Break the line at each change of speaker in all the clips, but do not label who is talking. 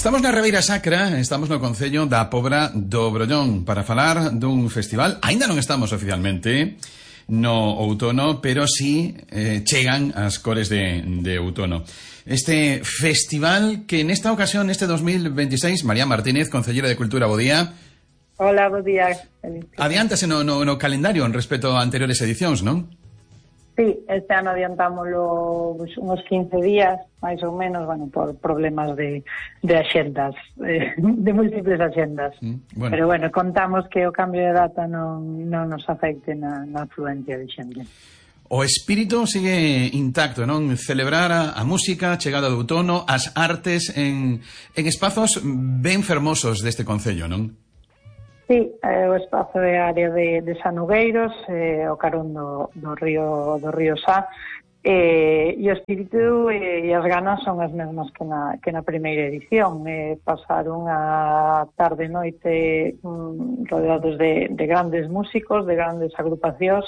Estamos na Ribeira Sacra, estamos no Concello da Pobra do Brollón para falar dun festival. Aínda non estamos oficialmente no outono, pero sí chegan as cores de outono. Este festival que nesta ocasión, neste 2026, María Martínez, Concellera de Cultura, bo día.
Hola, bo día.
Adiántase no calendario en respecto a anteriores edicións, non?
Sí, este ano adiantámoslo uns 15 días, máis ou menos, bueno, por problemas de axendas, de múltiples axendas. Bueno. Pero bueno, contamos que o cambio de data non nos afecte na afluencia de xente.
O espírito sigue intacto, non? Celebrar a música, a chegada do outono, as artes en espazos ben fermosos deste concello, non?
Sí, o espazo é a área de Sanogueiros, o carón do río Sá, e o espírito e as ganas son as mesmas que na primeira edición. Pasar unha tarde e noite rodeados de grandes músicos, de grandes agrupacións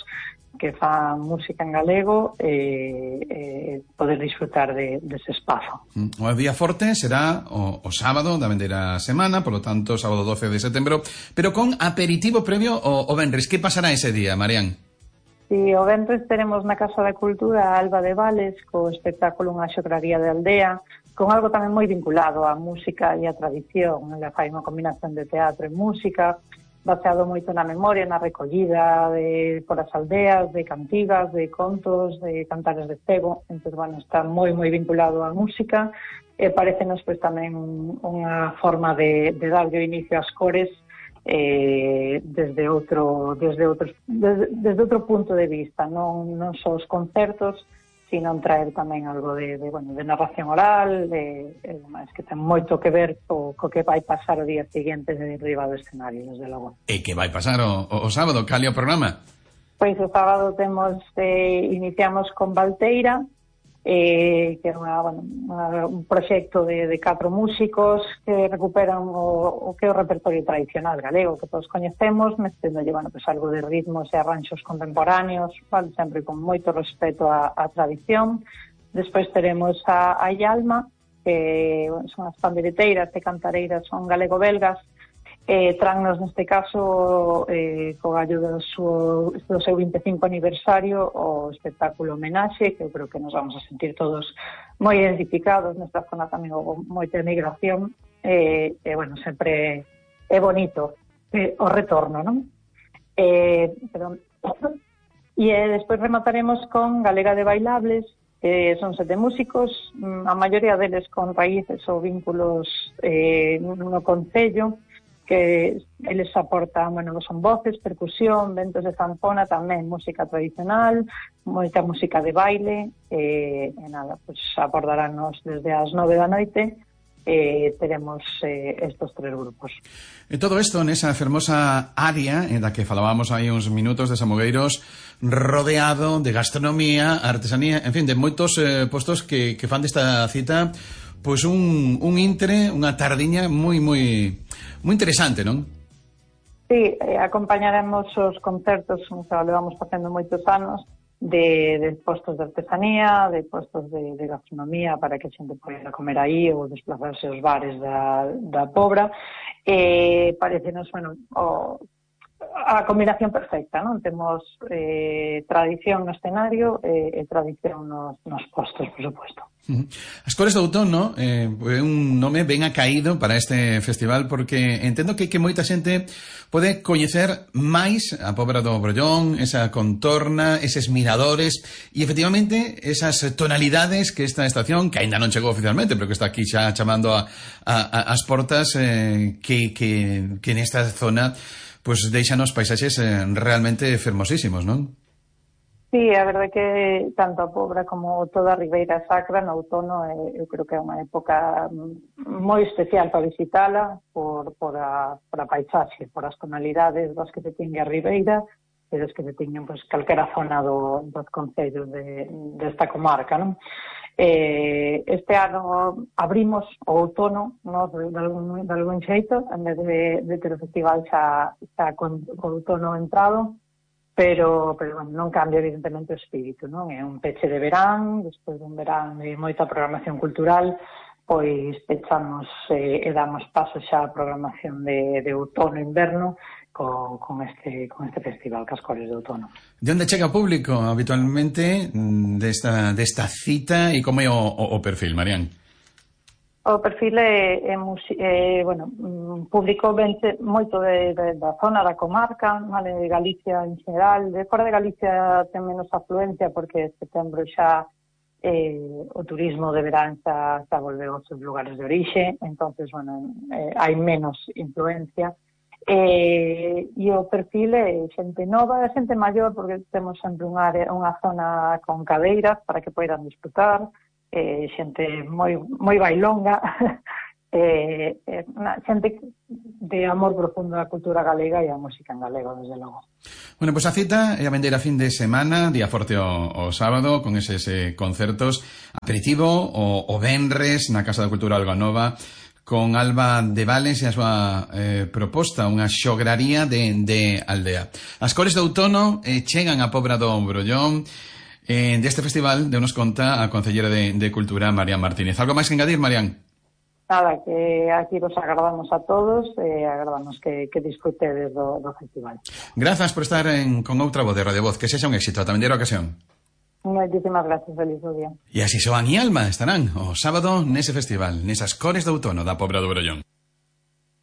que fan música en galego e poder disfrutar dese espazo.
O día forte será o sábado da vendeira semana, polo tanto, sábado 12 de setembro, pero con aperitivo previo o venres. Que pasará ese día, Marián?
Si, o venres teremos na Casa da Cultura a Alba de Vales co espectáculo Unha xograría de aldea, con algo tamén moi vinculado á música e á tradición. Ela fai unha combinación de teatro e música, baseado moito na memoria, na recollida por as aldeas, de cantigas, de contos, de cantares de cebo. Entón, bueno, está moi vinculado á música e parecenos pois tamén unha forma de darlle o inicio ás cores desde outro punto de vista, non só os concertos, sino traer tamén algo de narración oral, es que ten moito que ver co que vai pasar o día seguinte de riba do escenario, desde logo.
E que vai pasar o sábado? Cal é o programa?
Pois o sábado iniciamos con Valteira, que é un proxecto de 4 músicos que recuperan o que é o repertorio tradicional galego que todos coñecemos, meténdolle algo de ritmos e arranxos contemporáneos, sempre con moito respeto á tradición. Despois teremos a Ialma, que son as pandeireteiras e cantareiras, son galego-belgas, trannos neste caso co gallo do seu 25 aniversario o espectáculo Homenaxe, que eu creo que nos vamos a sentir todos moi identificados. Nesta zona tamén houve moita emigración sempre é bonito o retorno, non? Despois remataremos con Galega de Bailables, son 7 músicos, a maioría deles con raíces ou vínculos no concello, que eles aportan, son voces, percusión, ventos de zanfona, tamén música tradicional, moita música de baile, abordarános desde as 9 da noite, teremos estos 3 grupos.
E todo isto nesa fermosa área da que falábamos hai uns minutos de Samugueiros, rodeado de gastronomía, artesanía, en fin, de moitos postos que fan desta cita pois un intre, unha tardiña moi interesante, non?
Sí, acompañaremos os concertos, que levamos facendo moitos anos, de postos de artesanía, de postos de gastronomía, para que a xente poida comer aí ou desplazarse aos bares da Pobra. Parecenos, a combinación perfecta, non? Temos tradición no escenario e tradición nos postos, por suposto.
As cores do outono é un nome ben acaído para este festival, porque entendo que moita xente pode coñecer máis a Pobra do Brollón, esa contorna, eses miradores e efectivamente esas tonalidades que esta estación, que aínda non chegou oficialmente, pero que está aquí xa chamando as portas, que nesta zona pois deixan os paisaxes realmente fermosísimos, non?
Sí, a verdade que tanto a Pobra como toda a Ribeira Sacra no outono eu creo que é unha época moi especial para visitala por a paisaxe, por as tonalidades das que se tiñe a Ribeira e das que se tiñen calquera zona dos concellos desta comarca, non? Este ano abrimos o outono de algún xeito, en vez de ter o festival xa con outono entrado, pero non cambia evidentemente o espírito, non? É un peche de verán, despois dun verán de moita programación cultural, pois pechamos e damos paso xa a programación de outono e inverno con este festival, Cas Cores de Outono.
De onde chega o público habitualmente desta cita e como é o perfil, Marián?
O perfil é público vente moito da zona da comarca, vale, de Galicia en xeral. De fora de Galicia ten menos afluencia porque en setembro xa o turismo de verán xa volveu aos seus lugares de orixe, entonces, hai menos influencia. E o perfil é xente nova, xente maior, porque temos sempre unha zona con cadeiras para que poidan disfrutar, xente moi bailonga, xente de amor profundo á cultura galega e á música en galego, desde logo.
Bueno, pois a cita é a vendeira fin de semana, día forte o sábado, con eses concertos, aperitivo o venres na Casa da Cultura Alganova, con Alba de Vales e a súa proposta, unha xograría de aldea. As Cores de Outono chegan a Pobra do Brollón. Deste festival de nos conta a Concellera de Cultura, Marián Martínez. Algo máis que engadir, Marián?
Nada, que aquí vos agardamos a todos e agardamos que disfrutedes do festival.
Grazas por estar con outra voz de Radio Voz. Que sexa un éxito. Tamén dera ocasión.
Moitísimas gracias, feliz día.
E así Xoán e Alma estarán o sábado nese festival, nesas Cores de Outono da Pobra do Brollón.